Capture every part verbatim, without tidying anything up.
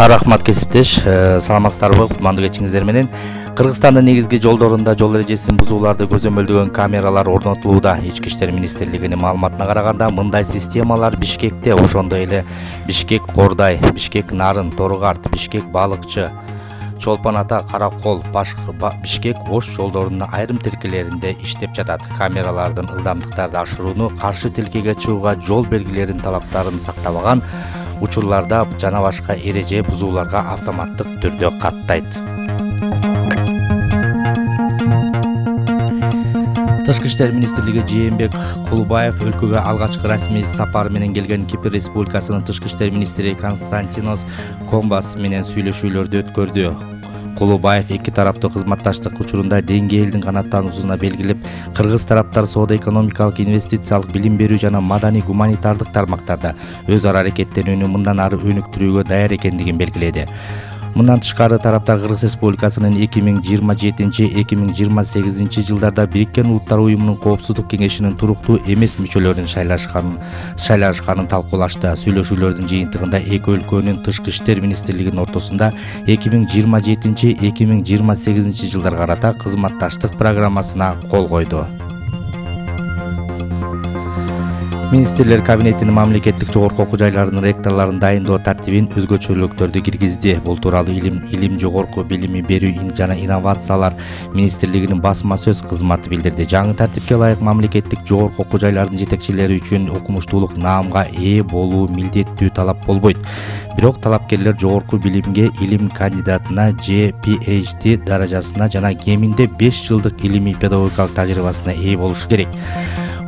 Рахмат кесиптеш, саламатсыздарбы, кутмандуу кечиңиздер менен. Кыргызстандын негизги жолдорунда жол эрежесин бузууларды көзөмөлдөгөн камералар орнотулууда. Ички иштер министрлигинин маалыматына караганда, мындай системалар Бишкекте, ошондой эле Бишкек Кордай, Бишкек Нарын, Торугарт, Бишкек Балыкчы, Чолпон Ата, Каракол, Бишкек Ош жолдорунун айрым тилкелеринде иштеп жатат. Камералардын ылдамдыктарды ашырууну, каршы тилкеге чыгууга жол белгилеринин талаптарын сактабаган учурларда жана башка эреже бузууларга автоматтык түрдө каттайт. Тышкы иштер министрлиги Жээнбек Кулубаев өлкөгө алгачкы расмий сапар менен келген Кипр Республикасынын тышкы иштер министри Константинос Комбас менен сүйлөшүүлөрдү өткөрдү. Кулубаев эки тараптуу кызматташтык учурунда деңгээлдин канааттануусуна белгилеп, кыргыз тараптар соода-экономикалык, инвестициялык, билим берүү жана маданий гуманитардык тармактарда өз ара аракеттенүүнү мындан ары өнүктүрүүгө даяр экендигин белгиледи. Мындан тышкары тараптар Кыргыз Республикасынын эки миң жыйырма жетинчи — эки миң жыйырма сегизинчи жылдарда Бириккен Улуттар уюмунун Коопсуздук кеңешинин туруктуу эмес мүчөлөрүн шайлашканын шайлашканын талкуулашты. Сүйлөшүүлөрдүн жыйынтыгында эки өлкөнүн тышкы иштер министрлигинин ортосунда эки миң жыйырма жетинчи — эки миң жыйырма сегизинчи жылдарга карата кызматташтык программасына кол койду. Министрлер кабинетинин мамлекеттик жогорку окуу жайларынын ректорлорун дайындоо тартибин өзгөчөлүктөрдү киргизди. Бул тууралуу илим илим жогорку билими берүү жана инновациялар министрлигинин басма сөз кызматы билдирди. Жаңы тартипке ылайык мамлекеттик жогорку окуу жайларынын жетекчилери үчүн окумуштуулук наамга ээ болуу милдеттүү талап болбойт. Бирок талапкерлер жогорку билимге илим кандидатына Ж Пи Эйч Ди даражасына жана кеминде беш жылдык илимий педагогикалык тажрыйбасына ээ болушу керек.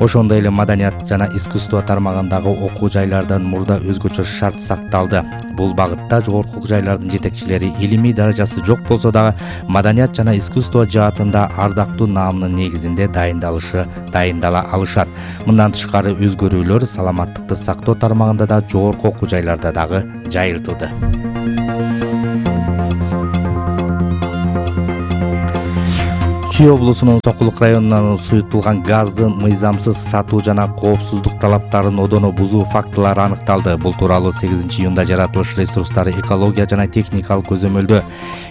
Ошондой эле маданият жана искусство тармагындагы окуу жайлардан мурда өзгөчө шарт сакталды. Бул багытта жогорку окуу жайлардын жетекчилери илимий даражасы жок болсо дагы маданият жана искусство жаатында ардактуу наамдын негизинде дайындалышы дайындала алышат. Мындан тышкары өзгөрүүлөр саламаттыкты сактоо тармагында да жогорку окуу жайларда дагы жайылтылды. Чүй облусунун Сокулук районунан суютулган газды мыйзамсыз сатуу жана коопсуздук талаптарын одоно бузуу фактылары аныкталды. Бул тууралуу сегизинчи июнда жаратылыш ресурстары, экология жана техникалык көзөмөлдөө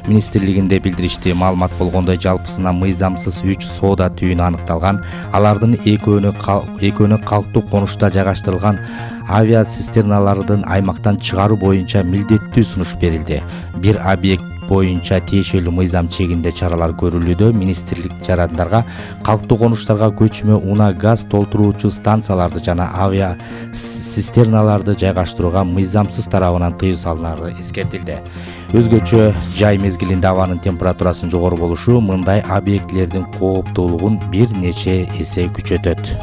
министрлигинде билдиришти. Маалымат болгондой, жалпысына мыйзамсыз үч соода түйүнү аныкталган. Алардын экөөнү экөөнү калктуу конушта жайгаштырылган авиацистерналардын аймактан чыгаруу боюнча милдеттүү сунуш берилди. Бир объект боюнча тиешелүү мыйзам чегинде чаралар көрүлүүдө. Министрлик жарандарга калктуу конуштарга көчмө унаа газ толтуруучу станцияларды жана авиа цистерналарды жайгаштырууга мыйзамсыз тарабынан тыюу салынары эскертилди. Өзгөчө жай мезгилинде абанын температурасынын жогору болушу мындай объектилердин кооптуулугун бир нече эсе күчөтөт.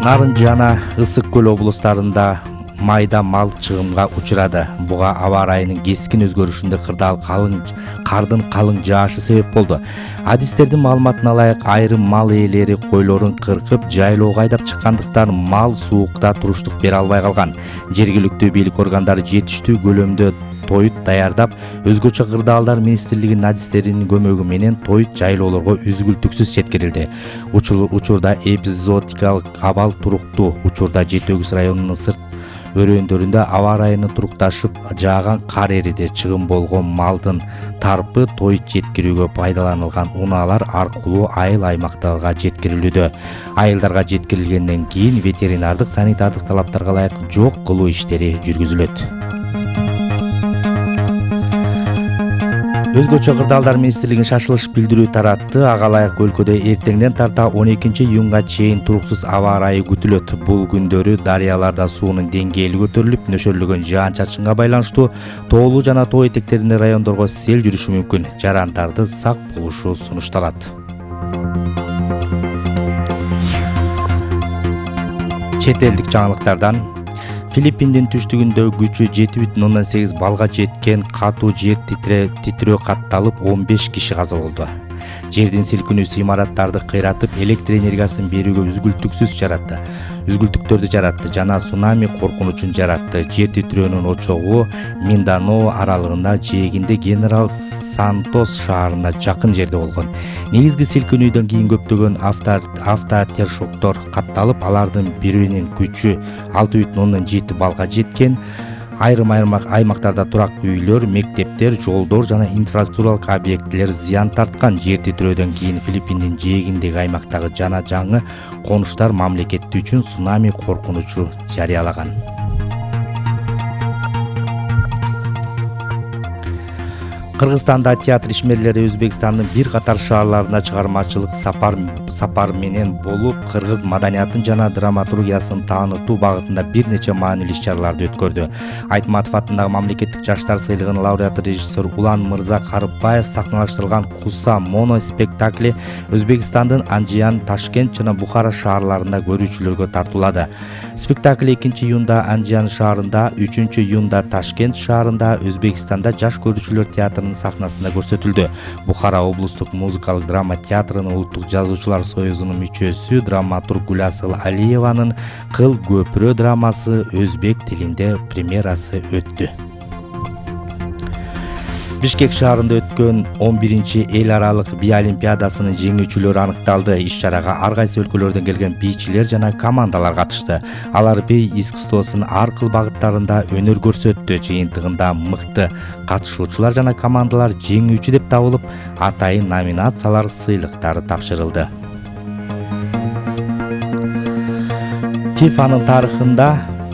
Нарын жана Ысык көл облустарында майда мал чыгымга учурады. Буга аба ырайынын кескин өзгөрүшүндө кырдаал калың кардын калың жаашы себеп болду. Адистердин маалыматына ылайык, айрым мал ээлери койлорун кыркып, жайлоого айдап чыккандыктан мал суукта туруштук бере албай калган. Жергиликтүү бийлик органдары жетиштүү көлөмдө тоют даярдап, өзгөчө кырдаалдар министрлигинин адистеринин көмөгү менен тоют жайлоолорго үзгүлтүксүз жеткирилди. Учурда эпизодикалык абал туруктуу. Учурда Жети Өгүз районунун сырт өрөөндөрүндө аба ырайыны турукташып, жааган кар эриди. Чыгым болгон малдын тарпы тоют жеткирүүгө пайдаланылган унаалар аркылуу айыл аймактарга жеткирилүүдө. Айылдарга жеткирилгенден кийин ветеринардык, санитардык талаптарга ылайык жок кылуу иштери жүргүзүлөт. Өзгөчө кырдаалдар министрлигинин шашылыш билдирүү таратты. Ага ылайык өлкөдө эртеңден тарта он экинчи июнга чейин туруксуз аба ырайы күтүлөт. Бул күндөрү дарыяларда суунун деңгээли көтөрүлүп, нөшөрлөгөн жаан-чачынга байланыштуу тоолуу жана тоо этектериндеги райондорго сел жүрүшү мүмкүн. Жарандарды сак болушу сунушталат. Чет элдик жаңылыктардан Филиппиндин түштүгүндө күчү жети бүтүн ондон сегиз балга жеткен катуу жер титирөө катталып, он беш киши каза болду. жердин силкинүүсү имараттарды кыйратып, электр энергиясын берүүгө үзгүлтүксүз жаратты. Үзгүлтүктөрдү жаратты жана цунами коркунучун жаратты. Жер титирөөнүн очогу Минданао аралыгында жээгинде Генерал Сантос шаарына жакын жерде болгон. Негизги силкинүүдөн кийин көптөгөн автотершоктор катталып, алардын биринин күчү алты бүтүн ондон жети баллга жеткен. Айрым аймактарда турактуу үйлөр, мектептер, жолдор жана инфраструктуралык объектилер зыян тарткан. Жер титирөөдөн кийин Филиппиндин жээгиндеги аймактагы жана жаңы конуштар мамлекети үчүн цунами коркунучу жарыялаган. Кыргызстанда театр ишмерлери Өзбекстандын бир катар шаарларына чыгармачылык сапар сапар менен болуп, кыргыз маданиятын жана драматургиясын таанытуу багытында бир нече маанилүү иш-чараларды өткөрдү. Айтматов атындагы мамлекеттик жаштар сыйлыгынын лауреаты режиссер Улан Мырза Карыбаев сахналаштырган Куса моно спектакли Өзбекстандын Анжиян, Ташкент жана Бухара шаарларында көрүүчүлөргө тартуулады. Спектакль экинчи июнда Анжиян шаарында, үчүнчү июнда Ташкент шаарында, Өзбекстанда жаш көрүүчүлөр театрынын сахнасында көрсөтүлдү. Бухара облустук музыкалык драма театрынын улуттук жазуучулар союзунун мүчөсү драматург Гүласыл Алиеванын Кыл көпүрө драмасы өзбек тилинде премьерасы өттү. Бишкек шаарында өткөн он биринчи эл аралык би олимпиадасынын жеңүүчүлөрү аныкталды. Иш-чарага ар кайсы өлкөлөрдөн келген бийчилер жана командалар катышты. Алар бий искусствосунун ар кыл багыттарында өнөр көрсөттү. Жыйынтыгында мыкты катышуучулар жана командалар жеңүүчү деп табылып, атайын номинациялар сыйлыктары тапшырылды. фифанын тарыхында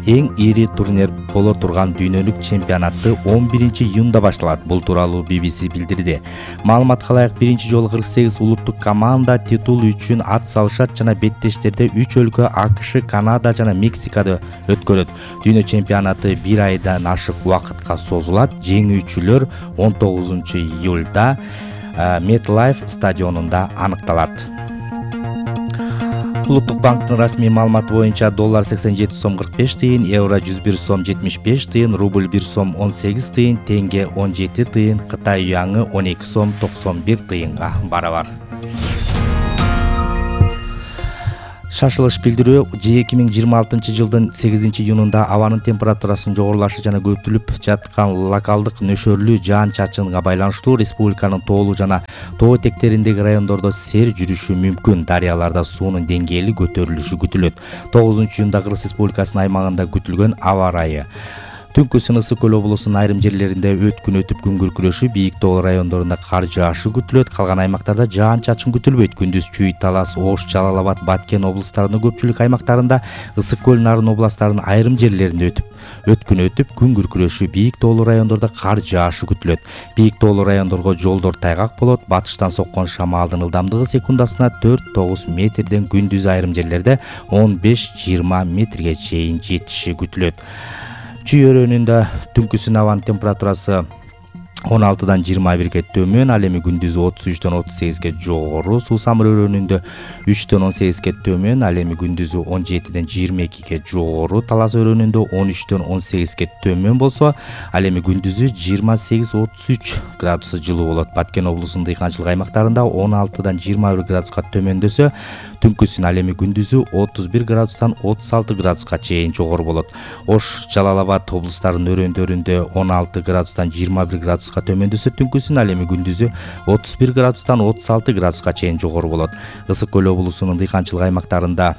эң ири турнир боло турган дүйнөлүк чемпионатты он биринчи июнда башталат. Бул тууралуу би би си билдирди. Маалыматка ылайык биринчи жолу кырк сегиз улуттук команда титул үчүн ат салышат жана беттештерде үч өлкө АКШ, Канада жана Мексикада өткөрөт. Дүйнө чемпионаты бир айдан ашык убакытка созулат. Жеңүүчүлөр он тогузунчу июлда MetLife стадионунда аныкталат. Улуттук банктын расмий маалыматы боюнча доллар сексен жети сом кырк беш тыйын, евро жүз бир сом жетимиш беш тыйын, рубль бир сом он сегиз тыйын, тенге он жети тыйын, Кытай юаны он эки сом токсон бир тыйынга барабар. Шашылыш билдирүү эки миң жыйырма алтынчы жылдын сегизинчи июнунда абанын температурасынын жогорулашы жана көтүлүп жаткан локалдык нөшөрлүү жаан-чачынга байланыштуу республиканын тоолуу жана тоо этектериндеги райондордо сел жүрүшү мүмкүн. Дарыяларда суунун деңгээли көтөрүлүшү күтүлөт. тогузунчу июнда Кыргыз Республикасынын аймагында күтүлгөн аба ырайы. Түнкү Ысык көл облусунун айрым жерлеринде өткүн өтүп күн күркүрөшү, бийик тоо райондорунда кар жаашы күтүлөт. Калган аймактарда жаан-чачын күтүлбөйт. Күндүз Чүй, Талас, Ош, Жалал Абад, Баткен облустарынын көпчүлүк аймактарында, Ысык көл, Нарын областарынын айрым жерлеринде өтүп өткүн өтүп күн күркүрөшү, бийик тоолуу райондордо кар жаашы күтүлөт. Бийик тоолуу райондорго жолдор тайгак болот. Батыштан соккон шамалдын ылдамдыгы секундасына төрт тогуз метрден, күндүз айрым жерлерде он беш жыйырма метрге чейин жетиши күтүлөт. Чүй өрөөнүндө түнкүсүн абанын температурасы он алтыдан жыйырма бирге төмөн, ал эми күндүзү отуз үчтөн отуз сегизге жогору. Суусамыр өрөөнүндө үчтөн он сегизге төмөн, ал эми күндүзү он жетиден жыйырма экиге жогору. Талас өрөөнүндө он үчтөн он сегизге төмөн болсо, ал эми күндүзү жыйырма сегиз отуз үч градус жылуу болот. Баткен облусунун дыйканчылык аймактарында он алтыдан жыйырма бир градуска төмөндөсө, түнкүсүн ал эми күндүзү отуз бир градустан отуз алты градуска чейин жогору болот. Ош, Жалал Абад облустарынын өрөөндөрүндө он алты градустан жыйырма бир градуска төмөндөсө, түнкүсүн ал эми күндүзү отуз бир градустан отуз алты градуска чейин жогору болот. Ысык көл облусунун дыйканчылык аймактарында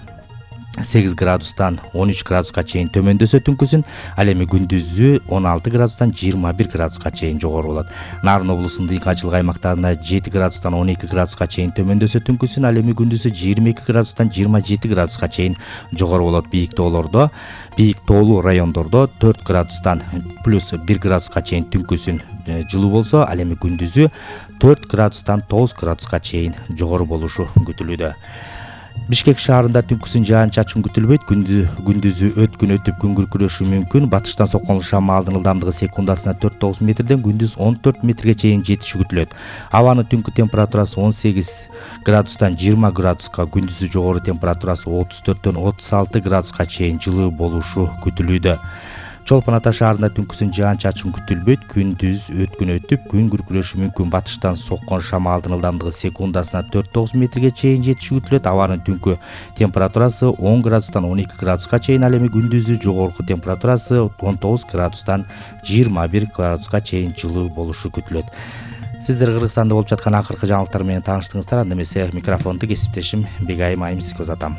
сегиз градустан он үч градуска чейин төмөндөсө, түнкүсүн ал эми күндүзү он алты градустан жыйырма бир градуска чейин жогору болот. Нарын облусунун дыйканчылык аймактарында жети градустан он эки градуска чейин төмөндөсө, түнкүсүн ал эми күндүзү жыйырма эки градустан жыйырма жети градуска чейин жогору болот. Бийик тоолордо, бийик тоолуу райондордо төрт градустан плюс бир градуска чейин түнкүсүн жылуу болсо, ал эми күндүзү төрт градустан тогуз градуска чейин жогору болушу күтүлүүдө. Бишкек шаарында түнкүсүн жаан-чачын күтүлбөйт. Күндүзү өткүн өтүп күн күркүрөшү мүмкүн. Батыштан соккон шамалдын ылдамдыгы секундасына төрт тогуз метрден, күндүз он төрт метрге чейин жетиши күтүлөт. Абанын түнкү температурасы он сегиз градустан жыйырма градуска, күндүзү жогору температурасы отуз төрттөн отуз алты градуска чейин жылуу болушу күтүлүүдө. Чолпон Ата шаарында түнкүсүн жаан-чачын күтүлбөйт. Күндүз өткүн өтүп, күн күркүрөшү мүмкүн. Батыштан соккон шамалдын ылдамдыгы секундасына төрт тогуз метрге чейин жетиши күтүлөт. Абанын түнкү температурасы он градустан он эки градуска чейин, ал эми күндүзү жогорку температурасы он тогуз градустан жыйырма бир градуска чейин жылуу болушу күтүлөт. Сиздер Кыргызстанда болуп жаткан акыркы жаңылыктар менен тааныштыңыздар. Анда эмесе микрофонду кесиптешим Бегайым Айымсызга узатам.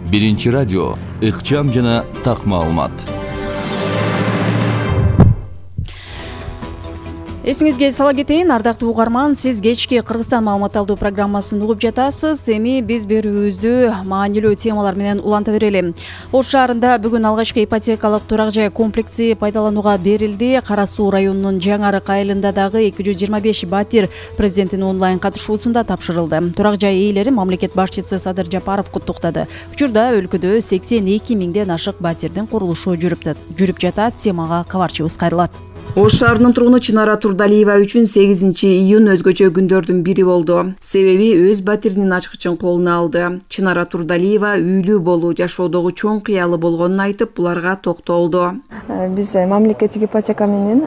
Биринчи радио, ыкчам жана так маалымат. Эсиңизге сала кетейин, ардактуу угарман, сиз кечки Кыргызстан маалымат алуу программасын угуп жатасыз. Эми биз берүүбүздү маанилүү темалар менен уланта берели. Ош шаарында бүгүн алгачкы ипотекалык турак жай комплекси пайдаланууга берилди. Кара Суу районунун Жаңарык айылында дагы эки жүз жыйырма беш батир президенттин онлайн катышуусунда тапшырылды. Турак жай ээлерин мамлекет башчысы Садыр Жапаров куттуктады. Учурда өлкөдө сексен эки миңден ашык батирдин курулушу жүрүп жатат. Темага кабарчыбыз кайрылат. Ош шаарынын тургуну Чынара Турдалиева үчүн сегизинчи июнь өзгөчө күндөрдүн бири болду. Себеби өз батиринин ачкычын колуна алды. Чынара Турдалиева үйлүү болуу жашоодогу чоң кыялы болгонун айтып, буларга токтолду. Биз мамлекеттик ипотека менен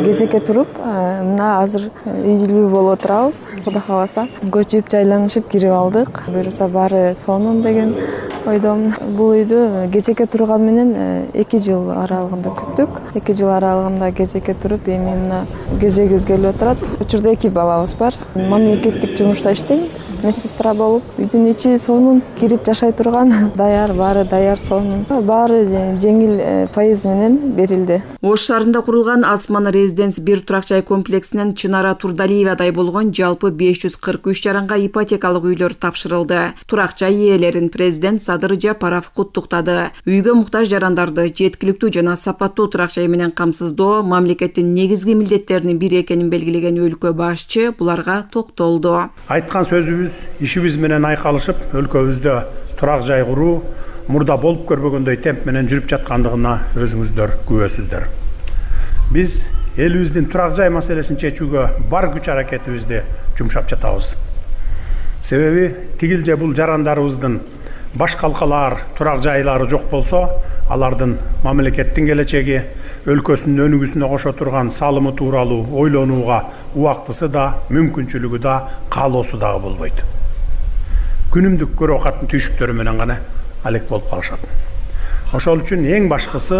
кезекке туруп, мына азыр үйлүү болуп отурабыз. Кудай кааласа, көчүп, жайланышып кирип алдык. Буюрса баары сонун деген ойдомун. Бул үйдү кезекке турган менен эки жыл аралыгында күттүк. эки жыл аралыгында кезекке туруп, эми мына кезегибиз келип отурат. Учурда эки балабыз бар. Мамлекеттик жумушта иштейм. Медсестра болуп, үйдүн ичи сонун, кирип жашай турган, даяр, баары даяр, сонун. Баары жеңил пайыз менен берилди. Ош шаарында курулган Асман Резиденс бир турак жай комплексинен Чынара Турдалиевадай болгон жалпы беш жүз кырк үч жаранга ипотекалык үйлөр тапшырылды. Турак жай ээлерин президент Садыр Жапаров куттуктады. Үйгө муктаж жарандарды жеткиликтүү жана сапаттуу турак жай менен камсыздоо мамлекеттин негизги милдеттеринин бири экенин белгилеген өлкө башчы буларга токтолду. Айткан сөзүбүз ишибиз менен айкалышып, өлкөбүздө турак жай куруу мурда болуп көрбөгөндөй темп менен жүрүп жаткандыгына өзүңүздөр күбөсүздөр. Биз элибиздин турак жай маселесин чечүүгө бар күч аракетибизди жумшап жатабыз. Себеби тигил же бул жарандарыбыздын баш калкалаар турак жайлары жок болсо, алардын мамлекеттин келечеги, өлкөсүнүн өнүгүүсүнө кошо турган салымы тууралуу ойлонууга убактысы да, мүмкүнчүлүгү да, каалоосу дагы болбойт. Күнүмдүк көрө катын түйшүктөрү менен гана алек болуп калышат. Ошол үчүн эң башкысы